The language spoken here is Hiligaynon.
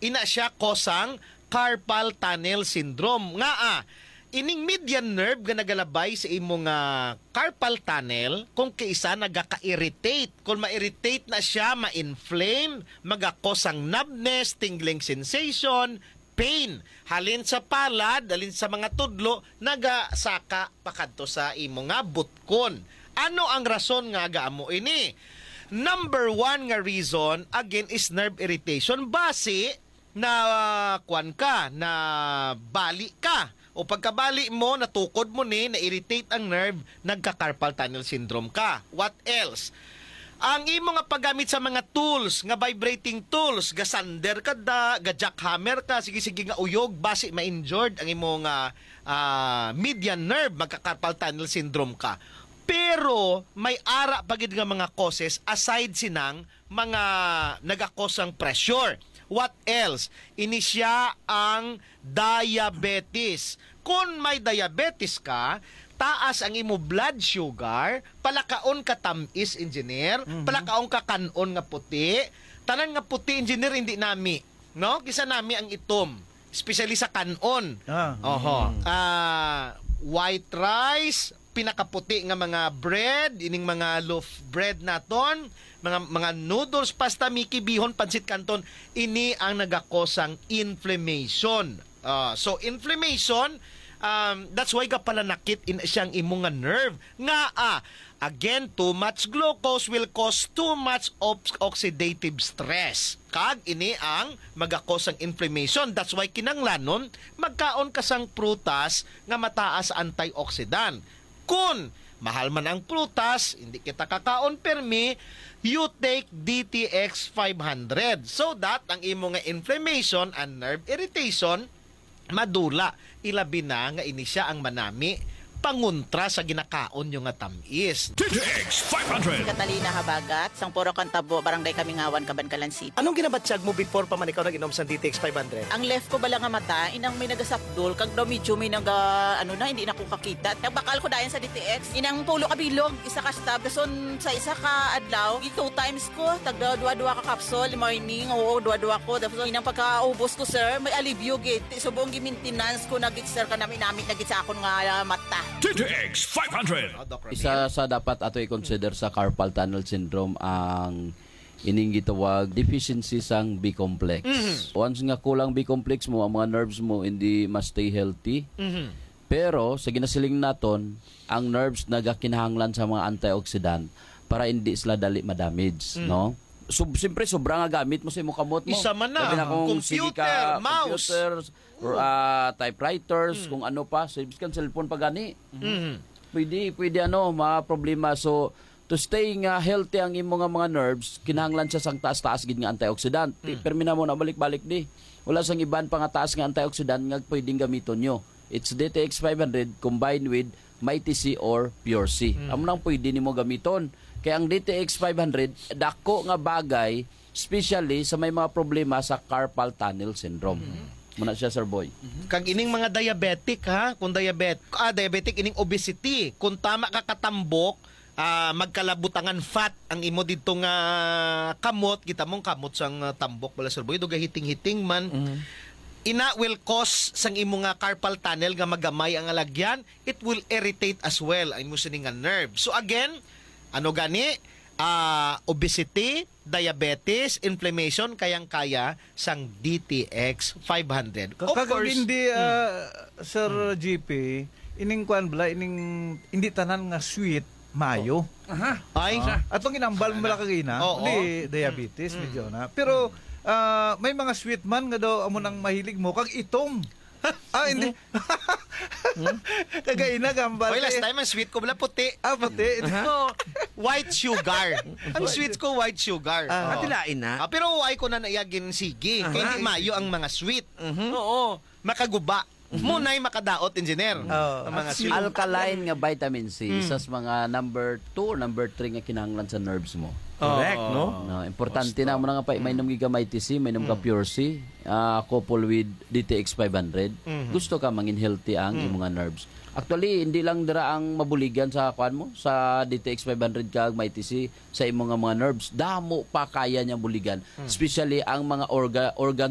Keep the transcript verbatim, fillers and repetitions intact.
Ina siya cause sang carpal tunnel syndrome. Nga, ah, ining median nerve nga nagalabay sa imo nga carpal tunnel, kung kaisa nagaka-irritate. Kung ma-irritate na siya, ma-inflame, maga-cause sang numbness, tingling sensation, pain. Halin sa palad, halin sa mga tudlo, nagasaka pakadto sa imo nga butkon. Ano ang rason nga aga amo ini? Number one nga reason, again, is nerve irritation. Basi, na, ah, kuwan ka, na bali ka. O pagkabali mo, natukod mo ni, na-irritate ang nerve, nagka-carpal tunnel syndrome ka. What else? Ang imo nga paggamit sa mga tools, nga vibrating tools, gasander ka da, ga-jackhammer ka, sige-sige nga uyog, basi ma-injured ang imo nga, ah, median nerve, magka-carpal tunnel syndrome ka. Pero may ara pa gid nga mga causes aside sinang mga nagakos sang pressure. What else? Ini siya ang diabetes. Kung may diabetes ka, taas ang imo blood sugar, palakaon ka tamis, engineer, Mhm. palakaon ka kanon nga puti. Tanan nga puti, engineer, hindi nami, no? Kisa nami ang itom, especially sa kanon. Ah. Oho. Mm. Ah, white rice, pinakaputi nga mga bread, ining mga loaf bread naton, mga, mga noodles, pasta, miki, bihon, pansit canton, ini ang nagakos sang inflammation. Ah, so, inflammation, um, that's why gapalanakit in siyang imo nga nerve. Nga, ah, again, too much glucose will cause too much ox-, oxidative stress. Kag ini ang magakos sang inflammation. That's why kinanglanon magkaon ka sang prutas nga mataas antioxidant. Kun mahal man ang prutas, hindi kita kakaon permi, you take D T X five hundred so that ang imo nga inflammation and nerve irritation madula, ilabi na nga ini siya ang manami pangontra sa ginakaon nyo nga tamis. D T X five hundred. Catalina Habagat, Sang Puro Kantabo, Barangay Kamingawan, Kabankalan City. Anong ginabatyag mo before pa man ikaw nag-inom sa D T X five hundred? Ang left ko bala nga mata, inang may nagasapdol, kag daw medyo may naga, ano na, hindi na ko kakita. Nagbakal ko dayon sa D T X. Inang pulo ka bilog, isa ka stab. Dason sa isa ka adlaw, gi two times ko, tagda duha-duha ka capsule, morning, oo, duha-duha ko. Dason inang pagkaubos ko, sir, may alibyo gid. Ti subong gi-maintenance ko na gid, sir, kanami-nami na gid sa akon nga, ah, mata. D T X five hundred. Oh, Doc Ramil. Isa sa dapat ato i-consider sa carpal tunnel syndrome ang ining gitawag deficiency sang B complex. Mhm. Once nga kulang B complex mo, ang mga nerves mo hindi ma-stay healthy. Mhm. Pero sa ginasiling naton, ang nerves nagakinahanglan sa mga antioxidant para hindi sila dali ma-damage, Mm. no? So, siyempre, sobra nga gamit mo sa imong kamot mo. Isa man na, Labi na kung sige computer, ka, mouse. computers, or, Oo. ah, typewriters, Mm. kung ano pa, so, biskan cellphone pa gani. Mhm. Pwede, pwede ano, mga problema. So, to stay nga healthy ang imo nga mga nerves, kinahanglan siya sang taas-taas gid nga antioxidant. Ti-, Mm. permi na mo na balik-balik di. Wala sang iban pa nga taas nga antioxidant nga pwedeng gamiton nyo. It's D T X five hundred combined with Mighty C or Pure C. Mm. Amo nang pwede nimo gamiton. Kaya ang D T X five hundred, dako nga bagay, especially sa may mga problema sa carpal tunnel syndrome. Mm. Muna siya, Sir Boy. Kag ining mga diabetic, ha? Kung diabet-, ah, diabetic, ining obesity. Kung tama ka katambok, ah, magkalabutangan fat ang imo didto nga kamot, kita mong kamot sang, ah, tambok bala, Sir Boy, do gahiting-hiting man. Mhm. Ina will cause sang imo nga carpal tunnel nga magamay ang alagyan, it will irritate as well ang imo sini nga nerve. So again, ano gani? Ah, obesity, diabetes, inflammation, kayang-kaya sang D T X five hundred. Ka-, Of kag course, hindi, mm. ah, Sir Mm. G P, ining kuan bala, ining hindi tanan nga sweet, mayo. Aha. Ay. Ah, atong inambal mo Sana. bala kagina, Oo. hindi diabetes, Mm. medyo na. Pero, Mm. ah, may mga sweet man nga daw amo nang mahilig mo, kag itom. Ah, hindi. Hmm? Kagaina, gambal Oy, last eh. time, ang sweet ko bala puti. Ah, puti. Aha. So, white sugar. Ang sweet ko, white sugar. Ah. Oo. Ah, tilain na. Ah, pero ay ko na naiyagin sige. Aha. Kaya hindi mayo ang mga sweet. Mhm. Oo. Makaguba. Mhm. Muna'y makadaot, engineer. Oo. Ang mga At sweet. Alkaline nga vitamin C, Mm. isa sa mga number two or number three nga kinahanglan sa nerves mo. Correct, Oo. no? No, importante Basta. na mo na nga pa, Mm. mainom gigamay T C, mainom ka Mm. Pure C, ah, couple with D T X five hundred. Mhm. Gusto ka mangin healthy ang Mm. imong nga nerves. Actually, hindi lang dira ang mabuligan sa kuan mo, sa D T X five hundred kag may T C sa imong nga mga nerves. Damo pa kaya niyang buligan, Mm. especially ang mga orga-, organ